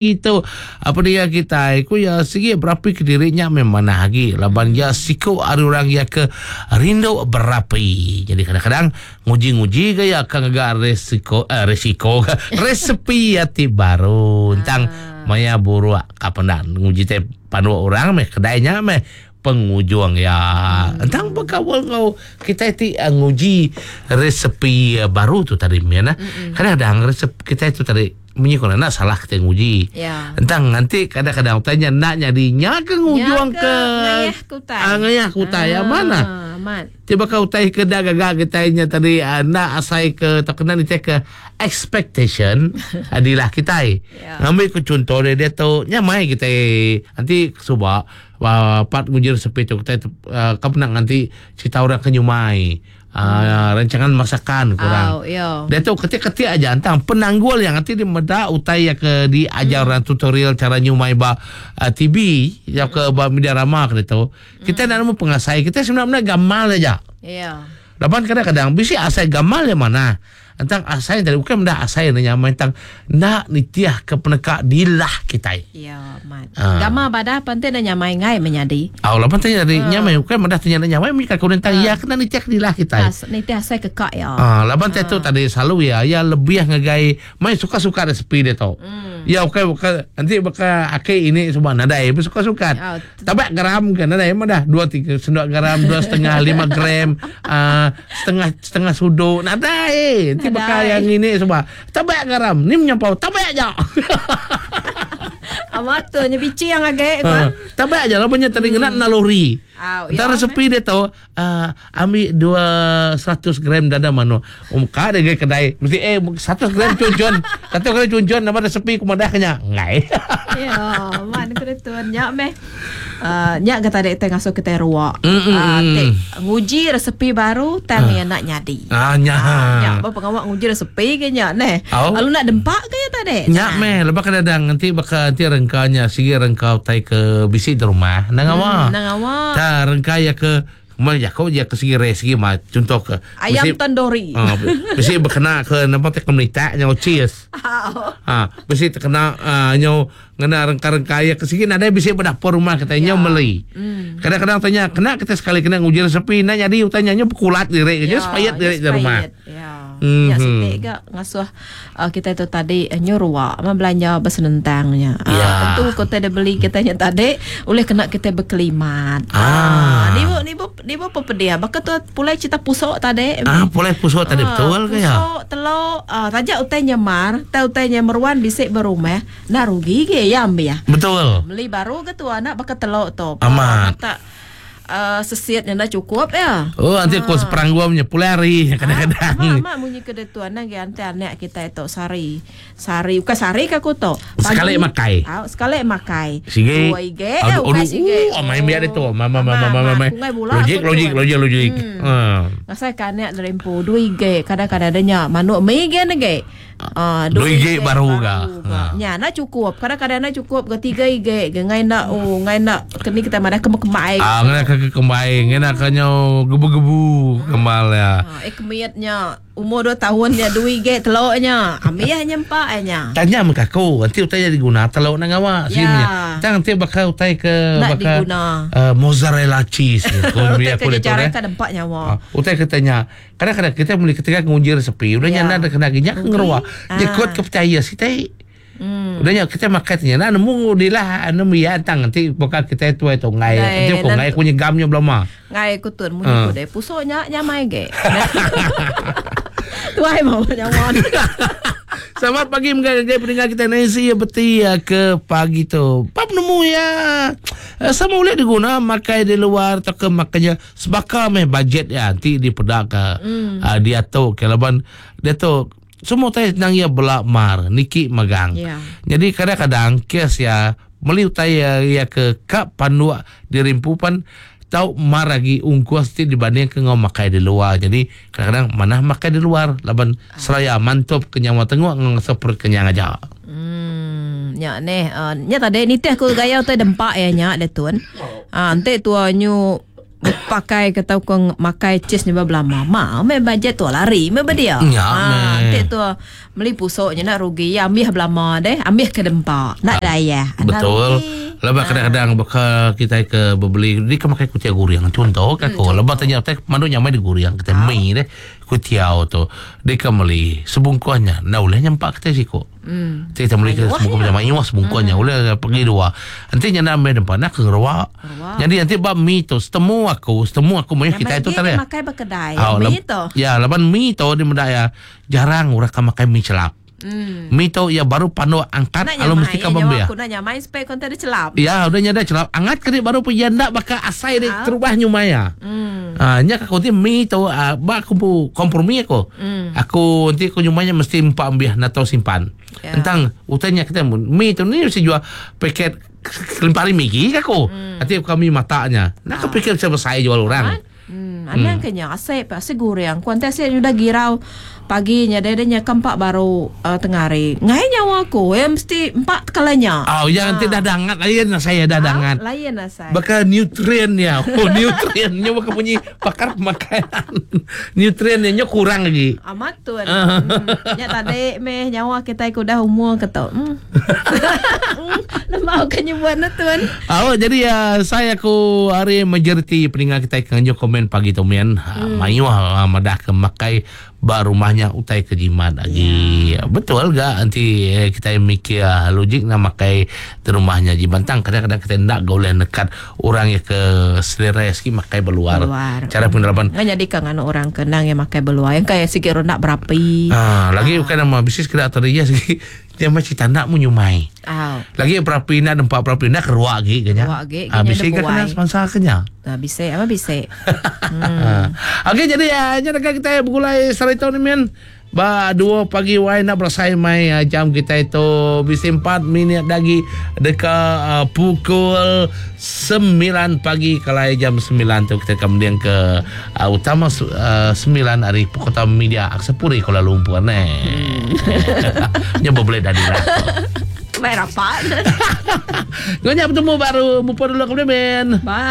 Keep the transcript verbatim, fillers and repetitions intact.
Itu apa dia kita ku ya sigi berapi ke dirinya memang mana lagi laban ya siku ari orang ya ke rindu berapi. Jadi kadang-kadang nguji-nguji ke ya akan agak resiko eh, resiko resepi ya ti baru tentang ah. Maya buruk kapan nguji te pandu orang meh kedainya meh pengujung ya. Hmm. Entang bekawal ngau kita ti uh, nguji resepi uh, baru tu tadi miana. Hmm. Kadang-kadang resep kita itu tadi munyi ko nak salah kita nguji. Ya. Entang nanti kadang-kadang tanya nak jadi nya ke ngujung ke ngayah kutai. Ah, ngayah kutai ah, mana? Amat. Tiba kau tai ke dah gagak kita nya tadi uh, nak asai ke terkena ni ke expectation adilah kita. Ya. Ngambil ke contoh dia, dia tu nyamai kita nanti subak uh, part nguji resepi tu kita uh, kau pernah nanti cerita orang ke nyumai. Uh, rancangan masakan kurang. Oh, yo. Dia tu ketik-ketik aja antang penanggul yang nanti di meda utai yang ke diajar hmm. orang tutorial cara nyumai ba uh, T V ya ke ba media rama ke tu. Kita hmm. nak nemu pengasai kita sebenarnya gamal aja. Ya. Laban kadang-kadang bisi asai gamal yang mana? Antang asai tadi bukan benda asai yang nyamai tentang nak nitiah ke penekak dilah kita. Ya, mat. Ah. Gamal badah penting nak nyamai ngai menyadi. Oh, lapan tanya tadi Ah. nyamai bukan benda tanya nak nyamai mereka kau tentang Ah. ya kena nitiah ke dilah kita. As nitiah asai kekak ya. Ah, lapan ah. tu tadi selalu ya, ya lebih ngagai mai suka-suka resepi dia tu. Hmm. Ya okey bukan nanti bakal akik ini semua nadai suka-suka. Ya, Tabak garam kan nadai mah dah dua tiga sendok garam dua setengah lima gram uh, setengah setengah sudut nadai. Nanti bakal Nadai. yang ini semua tabak garam ni menyampau tabak aja. Amat tu nya bici yang agak Ha, tabak aja lah banyak tadi kena naluri. Au, Ntar ya, resepi dia tahu uh, ambil dua seratus gram dada mano. Um ka dia kedai mesti eh seratus gram cuncun. Satu gram cuncun nama resepi ku madah kenya. Ngai. Ya, man kena tu nyak meh. Uh, nyak kata dek tengah ngasuh kita ruak. Mm, mm, Ah, mm. tek nguji resepi baru tang yang nak nyadi. Ah nya. Nyak apa pengawak nguji resepi ke nyak neh. Au. Lalu nak dempak ke ya tadi? Nyak meh lepas kadang nanti bakal nanti rengkanya sigi rengkau tai ke bisi di rumah. Nang awa. Hmm, nang awa. Ta rengka ya ke mana ya kau ya ke sigi re sigi ma contoh ke Ayam bisi- tandoori. Ah, bisi berkena ke nampak te komunitas nyaw cheese. Au. Ha, bisi terkena uh, nyo ngena rengka-rengka ya ke sigi nadai bisi berdapur rumah kita nyo meli. Hmm. Kadang-kadang tanya kena kita sekali kena nguji resepi nak jadi utanya nyo pekulat direk je sepayat direk di rumah. Ya. Mhm. Ya sitik gak ngasuh uh, kita itu tadi uh, nyuruh ma belanja bersenentangnya. Ya. Uh, tentu kota ada beli kitanya tadi oleh kena kita berkelimat. Ah. Ni bu ni bu ni bu apa dia? Bakal tu pulai cerita pusok tadi. Ah, boleh pusok tadi betul ke ya? Pusok, telur, ah, tajak utainya mar, tau utainya meruan bisik berumah, nak rugi ke ya ambil ya. Betul. Beli baru ke tu anak bakal telur tu. Amat. Tak uh, sesiatnya dah cukup ya. Oh, nanti aku seperang gua punya pulari kadang-kadang. Mak, mak bunyi ke tu anak ge ante anak kita itu sari. Sari bukan sari ke aku tu. Sekali makai. Ah, sekali makai. Sige. Dua ige, eh, Aduh, bukan aduh, sige. uh, main biar itu. Mama mama mama mama. Logik logik logik logik. Hmm. Ngasai ka anak derempu dua ige kadang-kadang adanya manuk mi ge nege. Ah, Dua ige baru ga. Ha. Nya nak cukup. Kadang-kadang nak cukup ke tiga ige ge ngai nak oh ngai nak kini kita mana kemai. Ah, ngena ke kembai, ngena ke nyo gebu-gebu kemal ya. Ah, eh kemiatnya umur dua tahun ya dua ige telurnya. Ami hanya empat nya. Tanya sama aku, nanti utai jadi guna telur nak awak Ya. sini. Tang nanti bakal utai ke Nak bakal diguna. uh, mozzarella cheese. Kau Utai biar aku kerja letak cara eh. kan empat nyawa. Ah, utai katanya kadang-kadang kita mulai ketika ngunjir resepi udah Ya. nyana ada kena ginyak ngeruah. Ah. Dia kuat kepercaya si tai. Hmm. Udah nya kita makan tanya nah nemu dilah nemu ya tang nanti bakal kita itu itu ngai Ngai, nanti aku nan- ngai punya gamnya belum ah. Ngai ku tun munyi Ah. ku deh pusoknya nyamai ge. Tuai mau nyawa. Selamat pagi menggai pendengar kita Nancy ya beti ya ke pagi tu. Pap nemu ya. Eh, Sama boleh diguna makai di luar atau ke makanya sebaka meh budget ya nanti di pedak ke mm. uh, dia tu ke laban dia tu semua tai nang ya belak mar niki magang. Ya. Jadi kadang-kadang kes ya meli utai ya, ya ke kap pandua di rimpupan tau mar lagi ungkuas ti dibanding ke ngau makai di luar. Jadi kadang-kadang mana makai di luar laban seraya mantap kenyang tengok ngau perut kenyang aja. Hmm, nya neh, uh, nya tadi nitih ku gaya utai dempak ya nya dia tun. Ah, ente tua nyu Pakai ke tau kong makai cheese ni belama. Ma, me budget tu lari me dia. Ya, ha, meh. tu beli pusuknya nak rugi. Ya ambil belama deh, ambil ke dempa. Nak daya. Betul. Lepas kadang-kadang bakal kita ke berbeli dia kan makan kutia goreng contoh kan ko. Lepas tanya teh mandu nyamai di goreng kita mi deh kutiau tu. Dia kan beli sebungkusnya. Nah boleh nyampak kita siko. Hmm. Kita beli ke sebungkus macam mayuh sebungkusnya hmm. Boleh pergi dua. Nanti nyanda ambil depan nak ke ngeruak. Jadi nanti bab mi tu setemu aku, setemu aku mayuh kita itu tadi. Makai berkedai. Mi tu. Ya, laban mi tu di mendak ya jarang orang kan makan mi celap. Hmm. Mi tu ya baru pandu angkat lalu mesti ka ka bambia. Aku nak nyamai supaya konten dia celap. Ya, udah nyada celap. Angat keri baru pun ndak bakal asai dia Ah. terubah nyumaya. Hmm. Ah, nya aku nanti mi tu ah, ba aku pu kompromi aku. Hmm. Aku nanti aku nyumanya mesti empat ambil atau simpan. Ya. Tentang utanya kita mi tu ni mesti jual paket kelimpari mi gigi aku. Hmm. Nanti kami matanya. Nak Ah. aku pikir siapa saya jual orang. Hmm, anang hmm. kenya asep asep goreng. Kuan teh sudah girau paginya dia dia kempak baru uh, tengah hari. Ngai nyawa aku ya mesti empat kalanya. Oh, ya nanti dah dangat lain lah saya dah dangat. Ah, lain lah saya. Bakal nutriennya. Oh, nutriennya bakal bunyi pakar makanan. Nutriennya kurang lagi. Amat tu. Hmm. Nya tadi meh nyawa kita ikut dah umur ketok. Hmm. Lemau kan buat na tuan. Oh, jadi ya saya aku hari majoriti pendengar kita kanjo komen pagi tu mian. Hmm. Mayu ah, madah ke makai ba rumahnya utai ke jimat lagi. Ya. Betul gak nanti eh, kita mikir ah, logik nak makai di rumahnya jibantang kadang-kadang kita nak boleh nekat orang yang ke selera sikit makai berluar. Berluar. Cara penerapan Nggak jadi kan anu orang kenang yang makai berluar yang kayak sikit nak berapi. Ah, lagi bukan nama bisnis kena atau dia sikit dia macam tak nak menyumai. Aw. Lagi perapi nak empat perapi nak keruak lagi kenya. Keruak lagi, Ah, kenya bisnis dia kan kena buai. sponsor kenya. Nah, bisa, apa bisa. Hmm. Okey jadi ya uh, kita bergulai serita ni men. Ba dua pagi wai nak berasai mai uh, jam kita itu bisa empat minit lagi dekat uh, pukul sembilan pagi kalau jam sembilan tu kita kemudian ke uh, utama uh, sembilan hari Kota Media Aksepuri Kuala Lumpur ni. Hmm. Nyoba boleh dah lah. Baik rapat. Ngonya bertemu baru. Mupa dulu kemudian men. Bye.